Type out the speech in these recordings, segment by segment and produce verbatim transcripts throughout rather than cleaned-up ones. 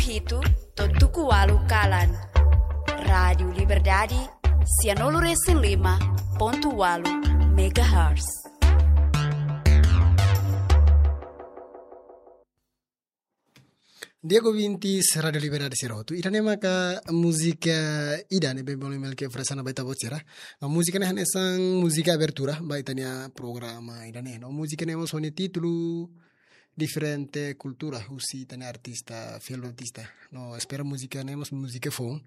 hitu to'o tuku ualu kalan. Rádiu Liberdade, sianulu resin lima pontu ualu megahertz. Di'ak ouvintes Rádiu Liberdade sira hotu, ida-ne'e maka múzika ida ne'ebé bolu mel ke oferese ona ba ita-boot sira. No múzika ne'e hanesan múzika abertura ba ita-nia programa ida-ne'e. No múzika ne'e mós ho nia títulu Diferente Kultura, husi ita-nia artista, fiel artista. No espera múzika ne'e mós múzika foun.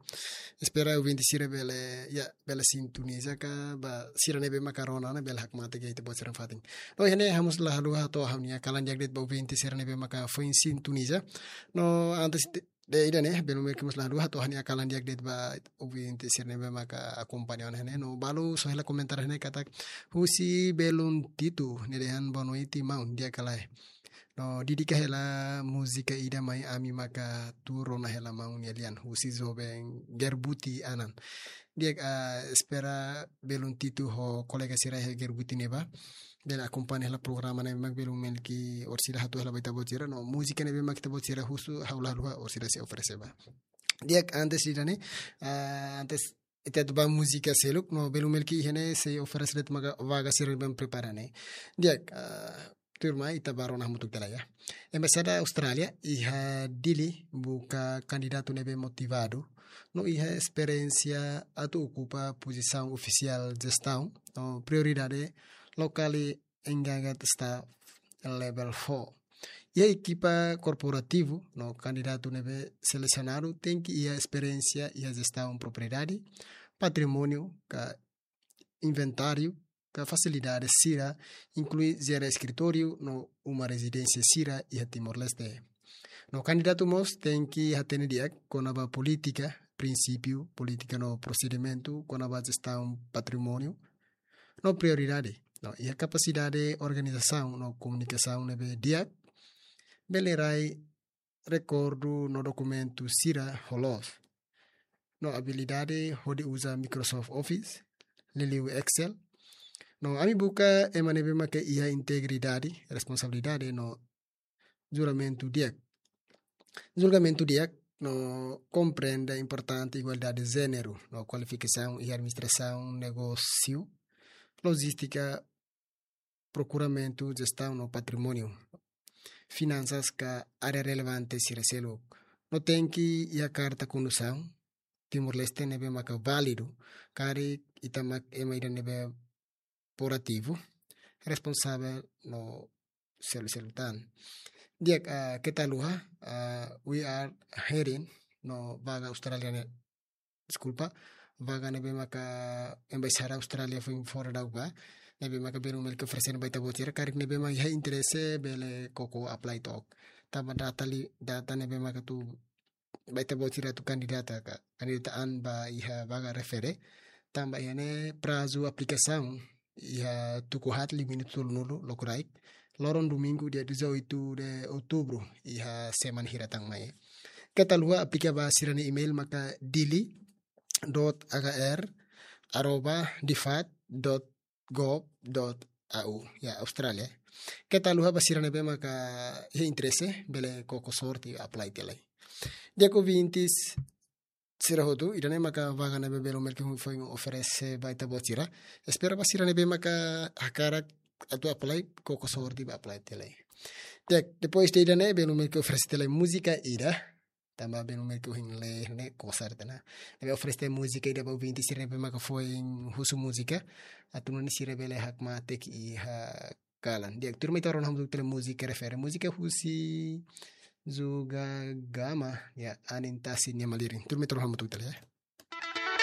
Espera ouvinte sira bele, ya, bele sintoniza ka ba sira ne'ebé maka rona ona bele hakmatek iha ita-boot sira fatin. No iha ne'e ha'u mós la haluha hato'o ha'u-nia kalan di'ak de'it ba ouvinte sira ne'ebé maka foin sintoniza. No antes de, de ida-ne'e, belun mel ke mós la haluha hato'o ha'u-nia kalan di'ak de'it ba ouvinte sira ne'ebé maka akompaña ona iha ne'e. No balu soe hela komentáriu iha ne'e katak husi belun Titu, nia dehan boa noite maun, di'ak ka lae. No dedika hela múzika ida mai ami maka tuur ona hela maun nia lian, husi joven Gerbuti Anan. Di'ak, ah, espera belun Titu ho kolega sira iha Gerbuti ne'ebá bele akompaña hela programa ne'e mak belun mel ke orsida hato'o hela ba ita-boot sira. No múzika ne'ebé mak ita-boot sira husu ha'u la haluha orsida sei oferese ba. Di'ak, antes ida-ne'e, ah, antes ita atu ba múzika seluk, no belun mel ke iha ne'e sei oferese de'it maka vaga sira ne'ebé prepara ne'e. Di'ak, ah, tuirmai ita ba rona hamutuk tiha lai, ya. Embaixada Austrália iha Dili buka kandidatu ne'ebé motivadu no iha esperiénsia atu okupa pozisaun ofisiál jestaun, no prioridade locally engaged staff level four. Iha ekipa korporativu, no kandidatu ne'ebé selesionadu tenke iha esperiénsia iha jestaun propriedade, patrimóniu ka inventáriu ka fasilidade sira, inklui jere eskritóriu no uma rezidénsia sira iha Timor-Leste. No kandidatu mós tenke hatene di'ak kona-ba polítika, prinsípiu, polítika no prosedimentu kona-ba jestaun patrimóniu, no prioridade, no iha kapasidade organizasaun no komunikasaun ne'ebé di'ak, bele rai rekordu no dokumentu sira ho loos, no abilidade hodi uza Microsoft Office, liuliu Excel. No ami buka ema ne'ebé maka iha integridade, responsabilidade no julgamentu di'ak. Julgamentu di'ak no komprende importante igualdade de jéneru, no kualifikasaun iha administrasaun negósiu, lojístika, prokuramentu, jestaun no patrimóniu, finansas ka área relevante sira seluk. No tenke iha karta kondusaun Timor-Leste ne'ebé maka válidu, karik ita mak ema ida ne'ebé proativu, responsavel no selu-selu tan. Di'ak, ah, keta haluha, ah, we are hiring, no vaga Austrália ne'e, deskulpa, vaga ne'ebé maka Embaixada Austrália foin fora daudaun ba, ne'ebé maka belun mel ke oferese ona ba ita-boot sira, karik ne'ebé mak iha interese bele koko apply to'ok. Tanba data li, data ne'ebé maka atu ba ita-boot sira atu kandidata ka, kandidata an ba iha vaga refere. Tanba iha ne'e prazu aplikasaun iha tuku haat limitu tolunulu lokraik, loron domingu dia dezoito de outubro, iha semana hira tan mai. Keta haluha aplika ba sira-nia email maka dili dot h r arroba difat dot gov dot a u, ya, Austrália. Keta haluha ba sira ne'ebé maka iha interese bele koko sorte apply tiha lai. Di'ak ouvintes sira hotu, ida-ne'e maka vaga ne'ebé belun mel ke foin oferese ba ita-boot sira. Espera ba sira ne'ebé maka hakarak atu apply, koko sorte ba apply tiha lai. Di'ak, depois de ida-ne'e belun mel ke oferese tiha lai múzika ida. Tanba belun mel ke ohin lee ne'e kosar tana. Ne'ebé oferese múzika ida ba ouvinte sira ne'ebé maka foin husu múzika, atu nune'e sira bele hakmatek iha kalan. Di'ak, tuirmai ita rona hamutuk tiha lai múzika refere. Múzika husi Juga Gama, ya, Anin Tasi nia malirin. Tuirmai ita rona hamutuk tiha lai, ya.